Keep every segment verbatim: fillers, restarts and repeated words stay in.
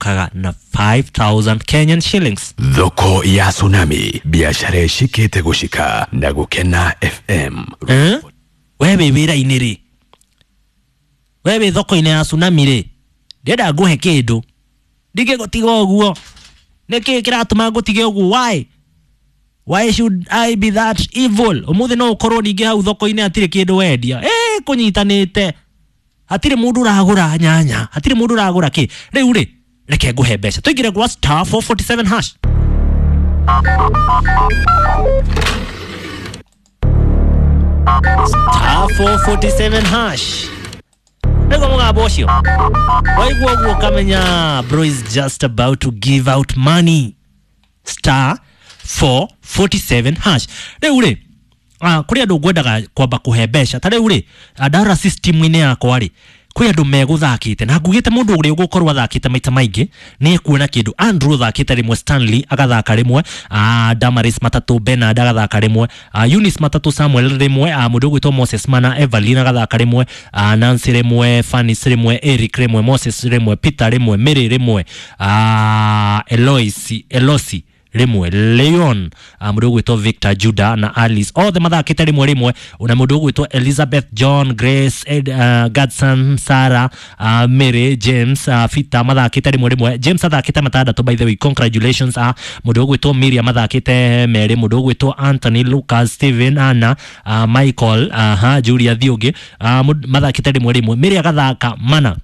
Kaga na five thousand Kenyan shillings. Thoko ya Tsunami, biashara ĩcikĩte gũcika na Gũkena F M. Eh? We wĩ wĩra-inĩ rĩ, we wĩ thoko-inĩ ya Tsunami rĩ, ndĩrenda ngũhe kĩndũ, ndingĩgũtiga ũguo. Nĩkĩ kĩratũma ngũtige ũguo? Why? Why should I be that evil? Ũmũthĩ no ũkorwo ningĩ hau thoko-inĩ hatirĩ kĩndũ wendia. Eh, kũnyitanĩte. Hatirĩ mũndũ ũragũra nyanya, hatirĩ mũndũ ũragũra kĩ. Rĩu rĩ, reke ngũhe mbeca. Tũingĩre gwa star four forty-seven hash. Star four forty-seven hash. Nĩguo mũgambo ũcio. Waigua ũguo ũkamenya bro is just about to give out money. Star four forty-seven hash. Rĩu rĩ, ah, kũrĩ andũ ngwendaga kwamba kũhe mbeca. Ta rĩu rĩ, ndarora system-inĩ yakwa rĩ, kwĩ andũ megũthakĩte na ngugĩte mũndũ ũrĩa ũgũkorwo athakĩte maita maingĩ nĩ ekuona kĩndũ. Andrew athakĩte rĩmwe, Stanley agathaka rĩmwe, ah, Damaris Matatũ, Bernard agathaka rĩmwe, ah, Eunice Matatũ, Samuel rĩmwe, ah, mũndũ ũgwĩtwo Moses Mana, Evelyn agathaka rĩmwe, ah, Nancy rĩmwe, Fanis rĩmwe, Eric rĩmwe, Moses rĩmwe, Peter rĩmwe, Mary rĩmwe, ah, Eloisi, Elosi rĩmwe, Leon, mũndũ ũgwĩtwo Victor, Judah na Alice othe mathakĩte rĩmwe rĩmwe, na mũndũ ũgwĩtwo Elizabeth, John, Grace, Ed, uh, Godson, Sarah, uh, Mary, James, uh, Fita mathakĩte rĩmwe rĩmwe. James athakĩte matandatũ, by the way, congratulations. uh, mũndũ ũgwĩtwo Miriam mathakĩte merĩ, mũndũ ũgwĩtwo Anthony, Lucas, Steven, Anna, uh, Michael, uh, uh, Julia Thiũngĩ, uh, mathakĩte rĩmwe rĩmwe. Mary agathaka mana.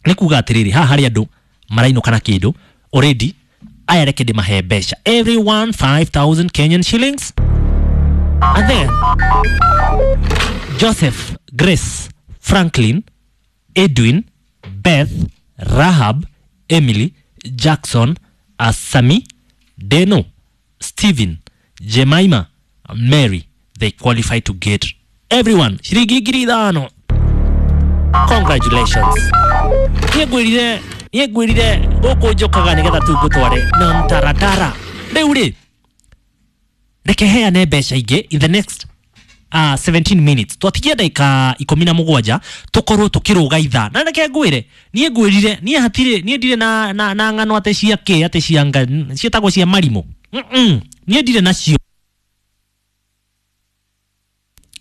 Nĩ kuga atĩrĩrĩ, haha harĩ andũ marainũka na kĩndũ already. Aya reke ndĩmahe mbeca, everyone five thousand Kenyan shillings. And then Joseph, Grace, Franklin, Edwin, Beth, Rahab, Emily, Jackson, Asami, Deno, Steven, Jemima, Mary, they qualify to get everyone ciringi ngiri ithano. Congratulations. Niĩ ngwĩrire, niĩ ngwĩrire gũkũ njũkaga nĩgetha tu ngũtware na mtaratara. Rĩu rĩ, reke heane mbeca ingĩ in the next uh, seventeen minutes. Twatigia ndagĩka ikũmi na mũgwanja tũkorwo tũkĩrũga ithaa. Na reke ngwĩre, niĩ ngwĩrire, niĩ hatirĩ, niĩ ndirĩ na, na, na ng'ano atĩ cia kĩ, atĩ cia nga, ciĩtagwo cia marimũ. Mm-mm. Niĩ ndirĩ nacio.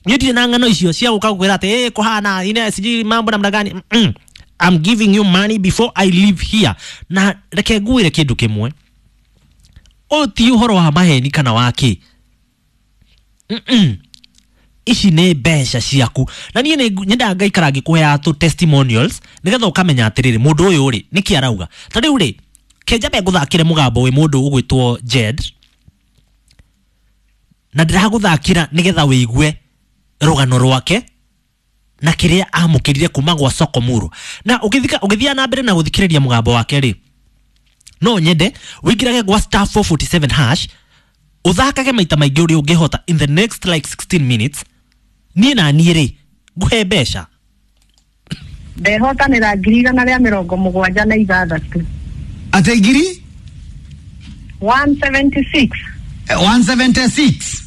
Niĩ ndirĩ na ng'ano icio cia gũka gũkwĩra atĩ, eh, kũhana, ine, sijui mambo namna gani. Mm-mm. I'm giving you money before I leave here. Na reke ngwĩre kĩndũ kĩmwe, ũyũ ti ũhoro wa maheni kana wa kĩ. Mm-mm. Ici nĩ mbeca ciaku. Na niĩ nĩ nyendaga ngaikara ngĩkũheaga tũ testimonials nĩgetha ũkamenya atĩrĩrĩ, mũndũ ũyũ rĩ nĩkĩ arauga. Ta rĩu rĩ, kenjambe ngũthakĩre mũgambo wĩ mũndũ ũgwĩtwo Jed, na ndĩragũthakĩra nĩgetha wĩigue rũgano rwake na kĩrĩa amũkĩrire kuma gwa Sokomuro. Na ũgĩthika, ũgĩthiĩ na mbere na gũthikĩrĩria mũgambo wake rĩ, no nyende wĩingĩrage gwa star four forty-seven hash, ũthakage maita maingĩ ũrĩa ũngĩhota in the next like sixteen minutes. Niĩ na niĩ rĩ, ngũhe mbeca. Ndehotanĩra ngiri igana rĩa mĩrongo mũgwanja na ithathatũ. Ate ngiri? one seventy-six. one seventy-six.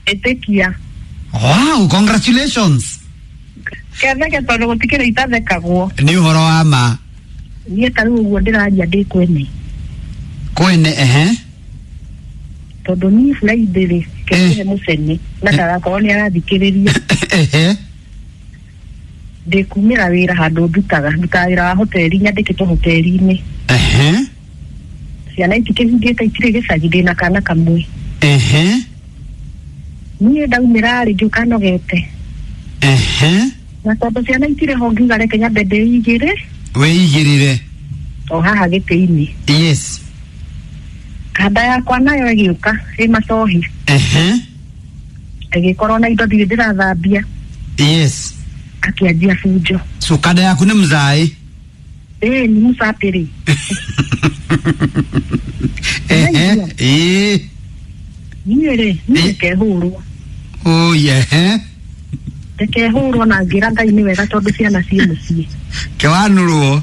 Ĩtĩkia. Wow, congratulations. Ketheke tondũ gũtikĩrĩ itathekagwo. Nĩ ũhoro wa ma. Niĩ ta rĩu ũguo ndĩraria ndĩ kwene. Kwene, ehe. Tondũ niĩ Friday rĩ, kĩhe mũcene na ndagakorwo nĩ arathikĩrĩria. Ehe. Ndĩkumĩra wĩra handũ ndutaga, ndutaga wĩra wa hoteli, nyandĩkĩtwo hoteli-inĩ. Ehe. Ciana itikĩhingĩte itirĩ gĩcagi, ndĩna kana kamwe. Ehe. Niĩ ndaumĩra rĩ, ngĩũka nogete. Ehe. Na tondũ ciana itirĩ ho ngiuga reke nyambe ndĩigĩre. Wĩigĩrĩre. O haha gĩtĩ-inĩ. Yes. Kanda yakwa nayo ĩgĩũka ĩ macohi. Ehe. Ĩgĩkorwo na indo ndirĩ ndĩrathambia. Yes. Akĩanjia bunjo. So kanda yaku nĩ mzaĩ? Ĩĩ, nĩ mũcapĩrĩ. Ehe. Ĩĩ. Niĩ rĩ, niĩ ndikehũrwo. Oh, yeah. Ndikehũrwo na ngĩra Ngai nĩ wega tondũ ciana ciĩ mũciĩ. Kĩwanũrwo.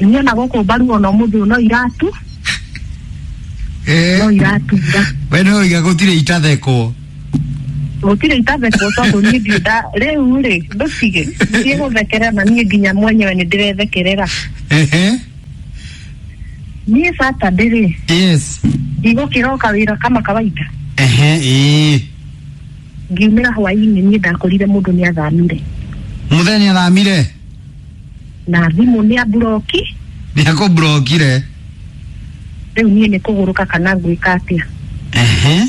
Niĩ ona gũkũ mbaru ona ũmũthĩ ũyũ no iratu. Eh. No iratura. We no iga gũtirĩ itathekwo. Gũtirĩ itathekwo tondũ niĩ ndirĩ nda rĩu rĩ, ndũtige. Ndiĩ gũthekerera na niĩ nginya mwenyewe nĩ ndĩrethekerera. Ehe. Niĩ Saturday rĩ, Yes. ndigũkĩroka wĩra kama kawaida. Ehe, ĩĩ. Ngiumĩra hwainĩ niĩ ndakorire mũndũ nĩ athamire. Mũthee nĩ athamire. Na thimũ nĩ amburoki. Nĩ akũmburokire. Rĩu niĩ nĩ kũgũrũka kana ngwĩka atĩa. Ehe.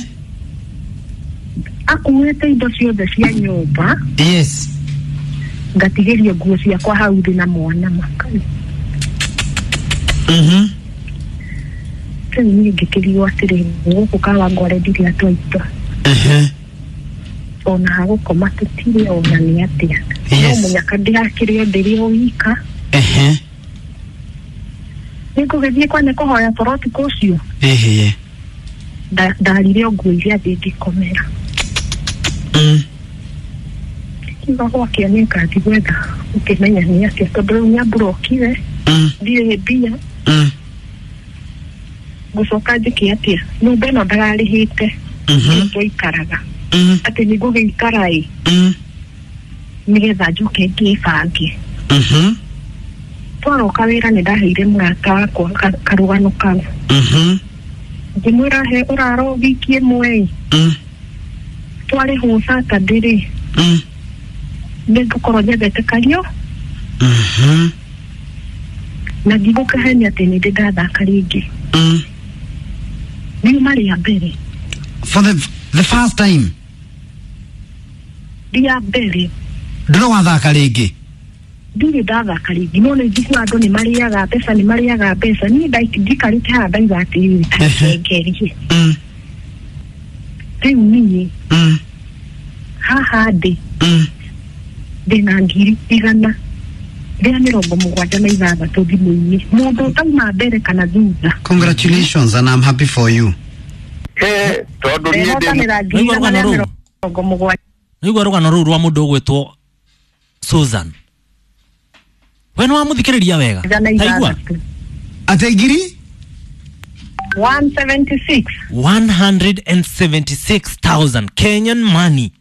Akuĩte indo ciothe cia nyũmba. Yes. Ngatigĩrio nguo ciakwa hau thĩ na mwana makai. Mhm. Rĩu niĩ ngĩkĩrigwo atĩrĩ, gũkũ Kawangware ndirĩ andũ aitũ. Ehe. Ona hagũkoma tũtirĩ ona nĩ atĩa. No Yes. mũnyaka ndĩrakĩrĩ o ndĩrĩ o wika. Ehe. Nĩngũgĩthiĩ kwa nĩ kũhoya toro ũtukũ ũcio. Ehe. Nda- ndarire o nguo iria thĩ ngĩkomera. Mm. Kiuga gwakĩa nĩngathiĩ gwetha ũkĩmenya nĩ atĩa tondũ rĩu nĩamburokire. Mm. Ndirĩ mbia. Mm. Ngũcoka njĩke atĩa? Nyũmba ĩno ndararĩhĩte. Mhm. Twaikaraga. Mm. Atĩ nĩngũgĩikara ĩ Mm. nĩgetha njoke ngĩbange. Mhm. Twaroka wĩra nĩ ndaheire mũrata wakwa ka- karũgano kau. Mhm. Ngĩmwĩra he ũraro wiki ĩmwe ĩ. Mm. Twarĩhwo Saturday rĩ, Mm. nĩngũkorwo nyendete kario Mhm. na ndigũkahenia atĩ nĩ ndĩ ndathaka rĩngĩ. Mm. Riuma rĩa mbere. For the the first time. Rĩa mbere. Ndũrĩ wathaka rĩngĩ. Ndirĩ ndathaka rĩngĩ no nĩ njiguaga andũ nĩ marĩaga mbeca nĩ marĩaga mbeca niĩ ndai- ndikarĩte haha ndauga atĩrĩrĩ Ehe. ngerie. Mm. Rĩu niĩ Mm. haha ndĩ Mm. ndĩna ngiri igana rĩa mĩrongo mũgwanja na ithathatũ thimũ-inĩ mũndũ ũtauma mbere kana thutha. Congratulations and I'm happy for you. He, tondũ niĩ ndĩ Ndehotanĩra ngiri Nĩguo igana rũgano rĩa rũu. mĩrongo mũgwanja Nĩguo rũgano rũu rwa mũndũ ũgwĩtwo Susan. We nĩ wamũthikĩrĩria wega. na Taigua. ithathatũ. Ate ngiri? one seventy-six. one hundred seventy-six thousand Kenyan money.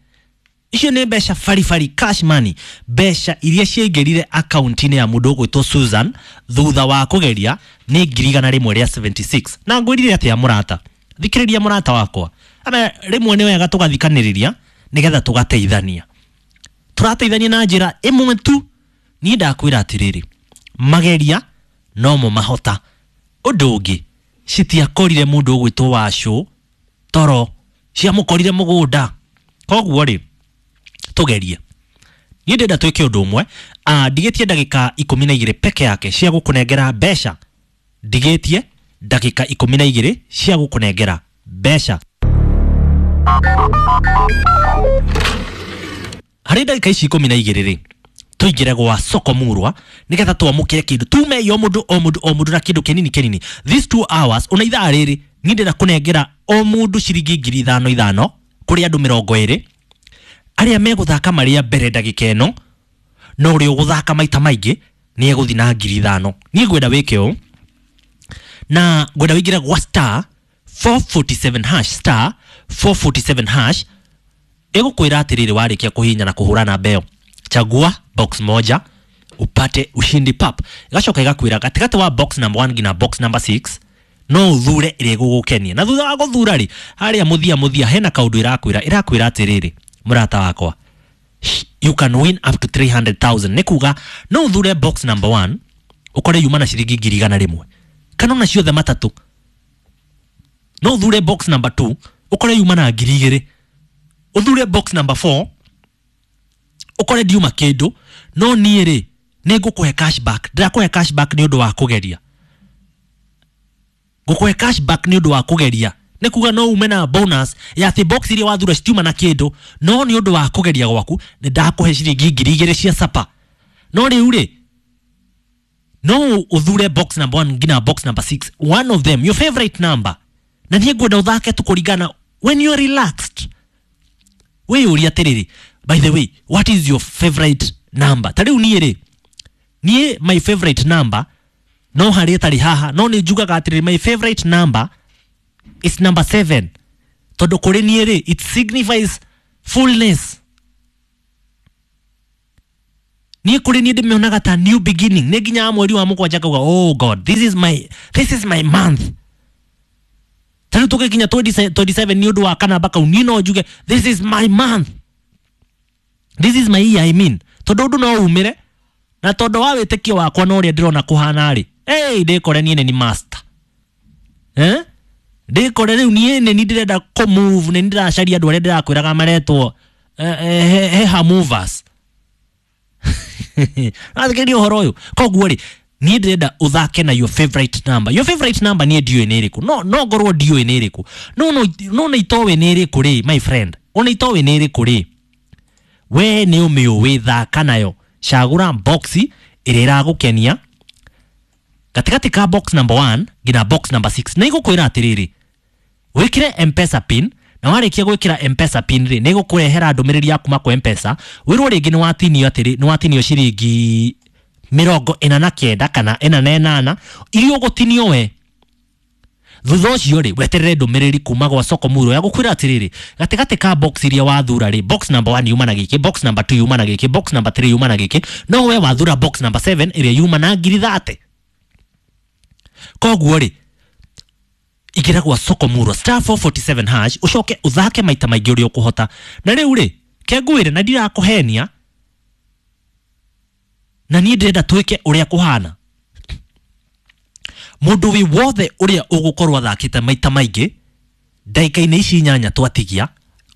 Icio nĩ mbeca baribari cash money, mbeca iria ciaingĩrire akaunti-inĩ ya mũndũ ũgwĩtwo Susan thutha wa kũgeria nĩ ngiri igana rĩmwe rĩa seventy-six. Na ngwĩrire atĩa mũrata? Thikĩrĩria mũrata wakwa. Ama rĩmwe nĩ wega tũgathikanĩrĩria nĩgetha tũgateithania. Tũrateithania na njĩra ĩmwe tu. Niĩ ndakwĩra atĩrĩrĩ, mageria no mo mahota. Ũndũ ũngĩ, citiakorire mũndũ ũgwĩtwo Wacũ toro, ciamũkorire mũgũnda. Koguo rĩ, tũgerie. Niĩ ndĩrenda twĩke ũndũ ũmwe, ah, ndigĩtie ndagĩka ikũmi na igĩrĩ peke yake cia gũkũnengera mbeca. Ndigĩtie ndagĩka ikũmi na igĩrĩ cia gũkũnengera mbeca. Harĩ ndagĩka ici ikũmi na igĩrĩ rĩ, tũingĩre gwa soko murwa nĩgetha twamũkĩre kĩndũ tume o mũndũ o mũndũ o mũndũ na kĩndũ kĩnini kĩnini. These two hours ona ithaa rĩrĩ niĩ ndĩrenda kũnengera o mũndũ ciringi ngiri ithano ithano kũrĩ andũ mĩrongo ĩrĩ arĩa megũthaka marĩ a mbere ndagĩka ĩno, no ũrĩa ũgũthaka maita maingĩ nĩ egũthiĩ na ngiri ithano. Niĩ ngwenda wĩke ũũ na ngwenda wĩingĩre gwa star four forty-seven hash, star four forty-seven hash ĩgũkwĩra atĩrĩrĩ, warĩkia kũhihinya na kũhũra namba ĩyo, chagua box moja upate ushindi pap. Igacoka igakwĩra gatagatĩ wa box number one nginya box number six no ũthure ĩrĩa ĩgũgũkenia. Na thutha wa gũthura rĩ, harĩa mũthia mũthia hena kaũndũ ĩrakwĩra, ĩrakwĩra atĩrĩrĩ, mũrata wakwa, you can win up to three hundred thousand. Nĩ kuga no ũthure box number one ũkore yuma na ciringi ngiri igana rĩmwe kana ona ciothe matatũ. No ũthure box number two ũkore yuma na ngiri igĩrĩ. Ũthure box number four ũkore ndiuma kĩndũ, no niĩ rĩ nĩ ngũkũhe cashback. Ndĩrakũhe cashback nĩ ũndũ wa kũgeria. Ngũkũhe cashback nĩ ũndũ wa kũgeria. Nĩ kuga no ume na bonus ya atĩ box iria wathura citiuma na kĩndũ, no nĩ ũndũ wa kũgeria gwaku nĩ ndakũhe ciringi ngiri igĩrĩ cia sapa. No rĩu rĩ, no ũthure box number one nginya box number six, one of them, your favorite number. Na niĩ ngwenda ũthake tu kũringana when you are relaxed. Wĩyũrie atĩrĩrĩ, by the way, what is your favorite number? Ta rĩu niĩ rĩ, niĩ my favorite number no harĩa ĩtarĩ haha, no nĩ njugaga atĩrĩrĩ, my favorite number is number seven. Tondũ kũrĩ niĩ rĩ, it signifies fullness. Niĩ kũrĩ niĩ ndĩmĩonaga ta new beginning. Nĩ nginya mweri wa mũgwanja ngauga, oh God, this is my, this is my month. Ta rĩu tũgĩkinya twenty-seven nĩ ũndũ wa kanamba kau, niĩ no njuge this is my month, this is my year, I mean. Tondũ ũndũ no umĩre na tondũ wa wĩtĩkio wakwa na ũrĩa ndĩrona kũhana rĩ, hey, ndĩkore niĩ nĩ ni master, eh? Ndĩkore rĩu niĩ nĩ ni ndĩrenda kũ move, nĩ ndĩracaria andũ arĩa ndĩrakwĩraga maretwo eh, eh, heha movers. Athikĩrĩria ũhoro ũyũ. Koguo rĩ, niĩ ndĩrenda ũthake na your favorite number. Your favorite number niĩ ndiũĩ nĩ ĩrĩkũ, no no ngorwo ndiũĩ nĩ ĩrĩkũ, no no no nĩ itoĩ nĩ ĩrĩkũ rĩ, my friend, ona itoĩ nĩ ĩrĩkũ rĩ, we nĩ ũmĩũĩ, thaka nayo. Cagũra box ĩrĩa ĩragũkenia gatagatĩ ka box number one nginya box number six. Na igũkwĩra atĩrĩrĩ, wĩkĩre M-Pesa pin, na warĩkia gwĩkĩra M-Pesa pin rĩ, nĩ ĩgũkũrehera ndũmĩrĩri ya kuma kwa M-Pesa, wĩrwo rĩngĩ nĩ watinio atĩrĩ, nĩ watinio ciringi mĩrongo ĩna na kenda kana ĩna na ĩnana iria ũgũtinio we. Thutha ũcio rĩ, weterere ndũmĩrĩri kuma gwa Soko Muro ya gũkwĩra atĩrĩrĩ, gatagatĩ ka box iria wathura rĩ, box number one yuma na gĩkĩ, box number two yuma na gĩkĩ, box number three yuma na gĩkĩ, no we wathura box number seven ĩrĩa yuma na ngiri thate. Koguo rĩ, ingĩra gwa Soko Muro star four forty-seven hash, ũcoke ũthake maita maingĩ ũrĩa ũkũhota. Na rĩu rĩ, kengwĩre na ndirakũhenia, na niĩ ndĩrenda twĩke ũrĩa kũhana. Mũndũ wĩ wothe ũrĩa ũgũkorwo athakĩte maita maingĩ ndagĩka-inĩ ici inyanya twatigia,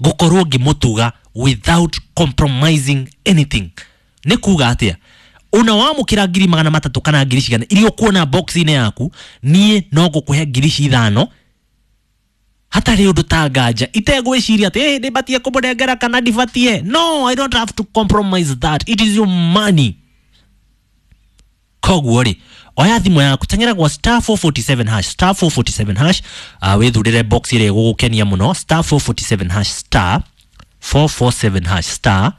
ngũkorwo ngĩmũtuga without compromising anything. Nĩ kuga atĩa? Ona wamũkĩra ngiri magana matatũ kana ngiri cigana iria ũkuona box-inĩ yaku, niĩ no ngũkũhe ngiri ici ithano hatarĩ ũndũ ta nganja, itegwĩciria atĩ hey, nĩbatie kũmũnengera kana ndibatie. No, I don't have to compromise that. It is your money. Koguo rĩ, oya thimũ yaku, teng'era gwa star four forty-seven hash, star four forty-seven hash, uh, wĩthurĩre box ĩrĩa ĩgũgũkenia mũno, star four forty-seven hash, star four four seven hash, star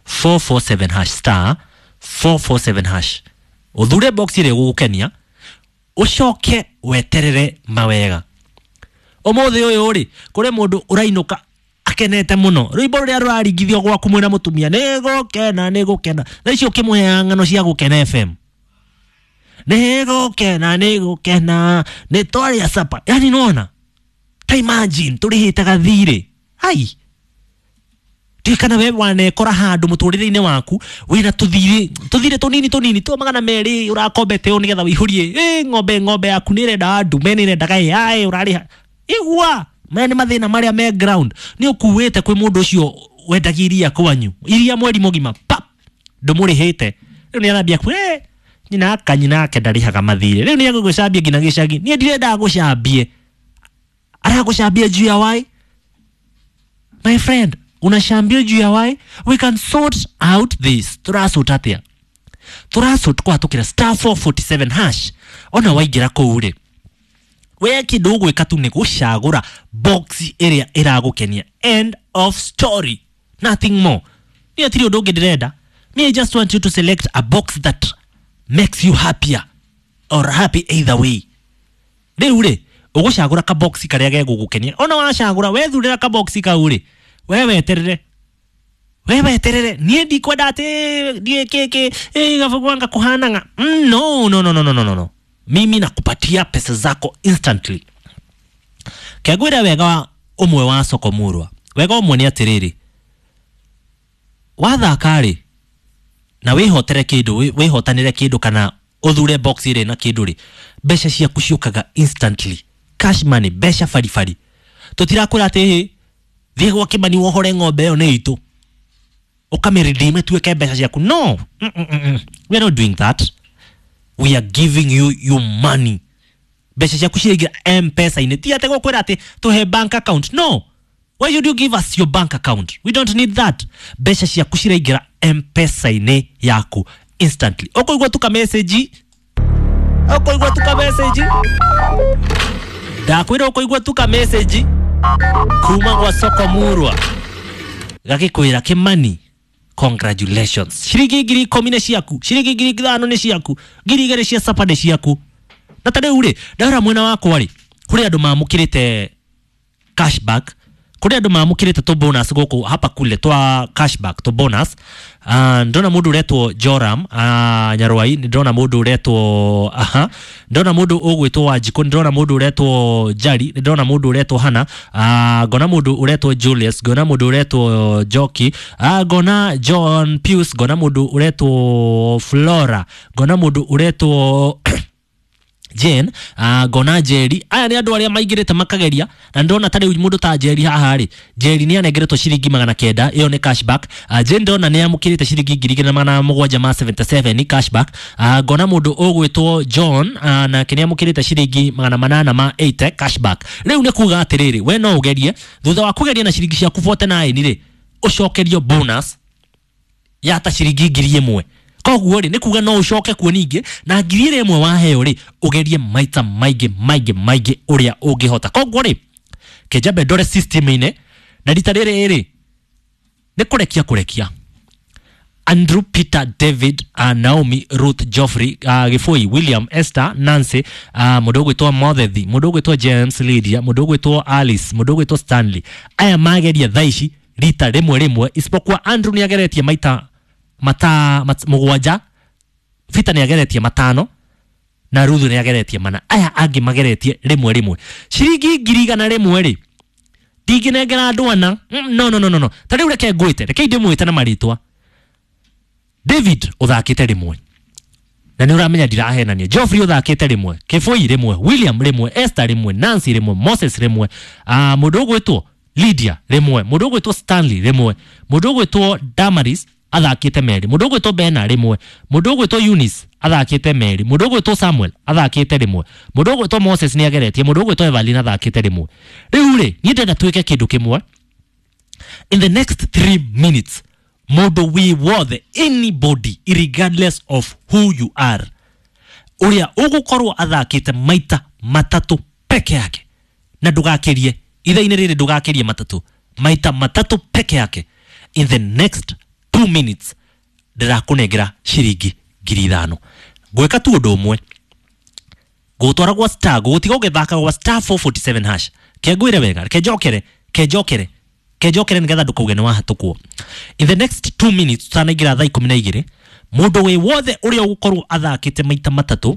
four four seven hash, star four four seven hash. Ũthure box ĩrĩa ĩgũgũkenia, ũcoke weterere mawega. Ũmũthĩ ũyũ rĩ, kũrĩ mũndũ ũrainũka akenete mũno, rwĩmbo rũrĩa rũraringithio gwaku mwĩna mũtumia, nĩgũkena nĩgũkena. Thaa ici ũkĩmũheaga ng'ano cia Gũkena F M, nĩgũkena nĩgũkena, nĩtwarĩa sapa. Yani nĩwona, ta imagine tũrĩhĩte gathirĩ. Ai, kana we wanekora handũ mũtũrĩre-inĩ waku wĩna tũthirĩ tũthirĩ tũnini tũnini twa magana merĩ ũrakombete ũũ nĩgetha wĩihũrie, ĩ ng'ombe ng'ombe yaku nĩĩrenda ndume nĩĩrendaga A I ũrarĩha. Igua maya nĩ mathĩna marĩa me ground. Nĩ ũkuĩte kwĩ mũndũ ũcio wendagia iria kwanyu, iria mweri mũgima pap ndũmũrĩhĩte, rĩu nĩarambia ku eh nyina aka nyina ake ndarĩhaga mathirĩ, rĩu nĩegũgũcambia nginya gĩcagi. Niĩ ndirendaga gũcambie, aragũcambia juu ya why? My friend, unashambia juu ya why? We can sort out this. Turasort atia? Turasort kũhatũkĩra star four forty-seven hash. Ona waingĩra kũu rĩ, we kĩndũ ũgwĩka tu nĩ gũcagũra box ĩrĩa ĩragũkenia. End of story, nothing more. Niĩ hatirĩ ũndũ ũngĩ ndĩrenda. Me, I just want you to select a box that makes you happier or happy either way. Rĩu rĩ, ũgũcagũra ka box karĩa gegũgũkenia. Ona wacagũra, wethurĩra ka box kau rĩ, we weterere, we weterere. Niĩ ndikwenda atĩ ndiĩ kĩkĩ ĩ gabugwanga kũhanaga. No, no, no, no, no, no, no. Mimi nakupatia pesa zako instantly. Kegwĩra wega ũmwe wa Soko Murwa, wega ũmwe nĩ atĩrĩrĩ, wathaka rĩ na wĩhotere kĩndũ, wĩhotanĩre kĩndũ kana ũthure box ĩrĩ na kĩndũ rĩ, mbeca ciaku ciũkaga instantly, cash money, mbeca baribari. Tũtirakwĩra atĩ hĩ thiĩ gwa Kĩmani wohore ng'ombe ĩyo nĩ itũ ũkamĩredeem ĩtuĩke mbeca ciaku. No, mm -mm -mm. We are not doing that. We are giving you your money. Mbeca ciaku ciraingĩra M-Pesa-inĩ. Ti atĩ gũkwĩra atĩ tũhe bank account. No, why should you give us your bank account? We don't need that. Mbeca ciaku ciraingĩra M-Pesa-inĩ yaku instantly. Ũkũigua tu ka message, ũkũigua tu ka message, ndakwĩra ũkũigua tu ka message kuma gwa Soko Murwa gagĩkwĩra Kĩmani, congratulations, ciringi ngiri ikũmi nĩ ciaku, ciringi ngiri ithano nĩ ciaku, ngiri igĩrĩ cia sapa nĩ ciaku. Na ta rĩu rĩ, ndahora mwena wakwa rĩ, kũrĩ andũ mamũkĩrĩte cashback Kuri andu mamukirite tu bonus guku hapa kule twa cashback tu bonus. Uh, ndona mundu uretwo Joram uh, Nyarwai, ndona mundu uretwo aha, ndona mundu ugwitwo Wanjikũ, ndona mundu uretwo Jari, ndona mundu uretwo Hana, uh, ngona mundu uretwo Julius, ngona mundu uretwo Joki, uh, ngona John Pius, ngona mundu uretwo Flora, ngona mundu uretwo Jane, uh, ngona Jerry. Aya nĩ andũ arĩa maingĩrĩte makageria na ndona ta rĩu mũndũ ta Jerry haha rĩ, Jerry nĩ anengeretwo ciringi magana kenda, ĩyo nĩ cashback. uh, Jane ndona nĩ amũkĩrĩte ciringi ngiri igĩrĩ na magana mũgwanja ma seventy seven cashback. uh, Ngona mũndũ ũgwĩtwo John, uh, nake nĩ amũkĩrĩte ciringi magana manana ma eighty cashback. Rĩu nĩ kuga atĩrĩrĩ, we no ũgerie thutha wa kũgeria na ciringi ciaku forty nine rĩ, ũcokerio bonus ya ta ciringi ngiri ĩmwe. Koguo rĩ, nĩ kuga no ũcoke kuo ningĩ na ngiri ĩrĩa ĩmwe waheo rĩ, ũgerie maita maingĩ maingĩ maingĩ ũrĩa ũngĩhota. Koguo rĩ, kĩnjambe ndore system-inĩ na rita rĩrĩ rĩ, nĩ kũrekia kũrekia Andrew, Peter, David, uh, Naomi, Ruth, Geoffrey, uh, Gĩbũi, William, Esther, Nancy, uh, mũndũ ũgwĩtwo Mothethi, mũndũ ũgwĩtwo James, Lydia, mũndũ ũgwĩtwo Alice, mũndũ ũgwĩtwo Stanley. Aya mageria thaa ici rita rĩmwe rĩmwe, isipokuwa Andrew nĩ ageretie maita mata mat, mũgwanja, Peter nĩ ageretie matano na Ruth nĩ ageretie mana. Aya angĩ mageretie rĩmwe rĩmwe. Ciringi ngiri igana rĩmwe rĩ, ndingĩnengera andũ ana. Mm, no no no no no. Ta rĩu reke ngwĩte, reke ndĩmwĩte na marĩtwa. David ũthakĩte rĩmwe na nĩ ũramenya ndirahenania. Geoffrey ũthakĩte rĩmwe, Kĩbũi rĩmwe, William rĩmwe, Esther rĩmwe, Nancy rĩmwe, Moses rĩmwe, uh, mũndũ ũgwĩtwo Lydia rĩmwe, mũndũ ũgwĩtwo Stanley rĩmwe, mũndũ ũgwĩtwo Damaris athakĩte merĩ, mũndũ ũgwĩtwo Bena rĩmwe, mũndũ ũgwĩtwo Eunice athakĩte merĩ, mũndũ ũgwĩtwo Samuel athakĩte rĩmwe, mũndũ ũgwĩtwo Moses nĩ ageretie, mũndũ ũgwĩtwo Evelyn athakĩte rĩmwe. Rĩu rĩ, niĩ ndĩrenda twĩke kĩndũ kĩmwe. In the next three minutes, mũndũ wĩ wothe, anybody, regardless of who you are, ũrĩa ũgũkorwo athakĩte maita matatũ peke yake, na ndũgakĩrie ithaa-inĩ rĩrĩ, ndũgakĩrie matatũ, maita matatũ peke yake, in the next two minutes ndĩrakũnengera ciringi ngiri ithano. Ngwĩka tu ũndũ ũmwe, ngũgũtwara gwa star, ngũgũtiga ũgĩthaka gwa star four forty seven hash. Kengwĩre wega, kenjokere, kenjokere, kenjokere nĩgetha ndũkauge nĩ wahatũkwo. In the next two minutes tutanaingĩra thaa ikũmi na igĩrĩ, mũndũ wĩ wothe ũrĩa ũgũkorwo athakĩte maita matatũ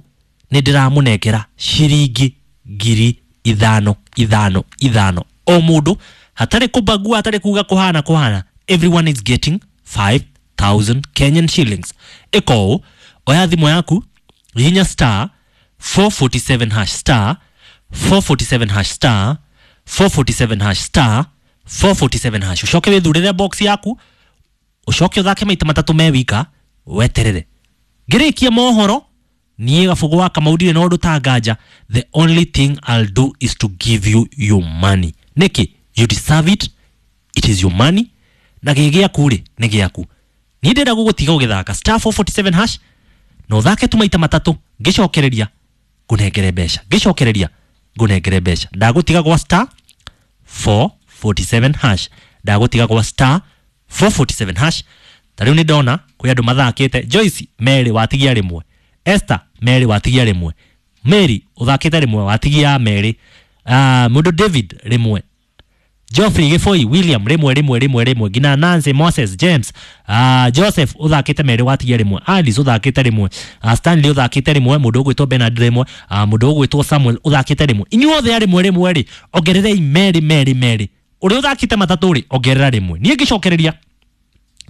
nĩ ndĩramũnengera ciringi ngiri ithano ithano ithano o mũndũ, hatarĩ kũbagua, hatarĩ kuga kũhana kũhana. Everyone is getting five thousand Kenyan shillings. Ĩka ũũ, oya thimũ yaku, hihinya star four forty seven hash star four forty seven hash star four forty seven hash star four forty seven hash, ũcoke wĩthurĩre box yaku, ũcoke ũthake maita matatũ me wika, weterere ngĩrĩkia mohoro. Niĩ Gabugu wa Kamau ndirĩ na ũndũ ta nganja. The only thing I'll do is to give you your money. Nĩkĩ? You deserve it, it is your money, na gĩ gĩaku rĩ, nĩ gĩaku. Niĩ ndĩrenda gũgũtiga ũgĩthaka star four forty seven hash na ũthake tu maita matatũ, ngĩcokereria ngũnengere mbeca, ngĩcokereria ngũnengere mbeca. Ndagũtiga gwa star four forty seven hash, ndagũtiga gwa star four forty seven hash. Ta rĩu nĩ ndona kwĩ andũ mathakĩte. Joyce merĩ watigia rĩmwe, Esther merĩ watigia rĩmwe, Mary ũthakĩte rĩmwe watigia merĩ, uh, mũndũ David rĩmwe, Geoffrey Gĩbũi, William rĩmwe rĩmwe rĩmwe rĩmwe, nginya Nancy, Moses, James, uh, Joseph ũthakĩte merĩ watigia rĩmwe, Alice ũthakĩte rĩmwe, uh, Stanley ũthakĩte rĩmwe, mũndũ ũgwĩtwo Bernard rĩmwe, uh, mũndũ ũgwĩtwo Samuel ũthakĩte rĩmwe. Inyuothe a rĩmwe rĩmwe rĩ, ongererei merĩ merĩ merĩ. Ũrĩa ũthakĩte matatũ rĩ, ongerera rĩmwe. Niĩ ngĩcokereria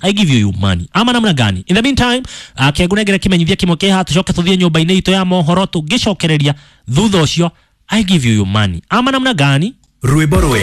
I give you your money. Ama namna gani? In the meantime, uh, kĩngunengere kĩmenyithia kĩmwe kĩ haha, tũcoke tũthiĩ nyũmba-inĩ itũ ya mohoro tũngĩcokereria thutha ũcio I give you your money. Ama namna gani? Rwĩmbo rwega.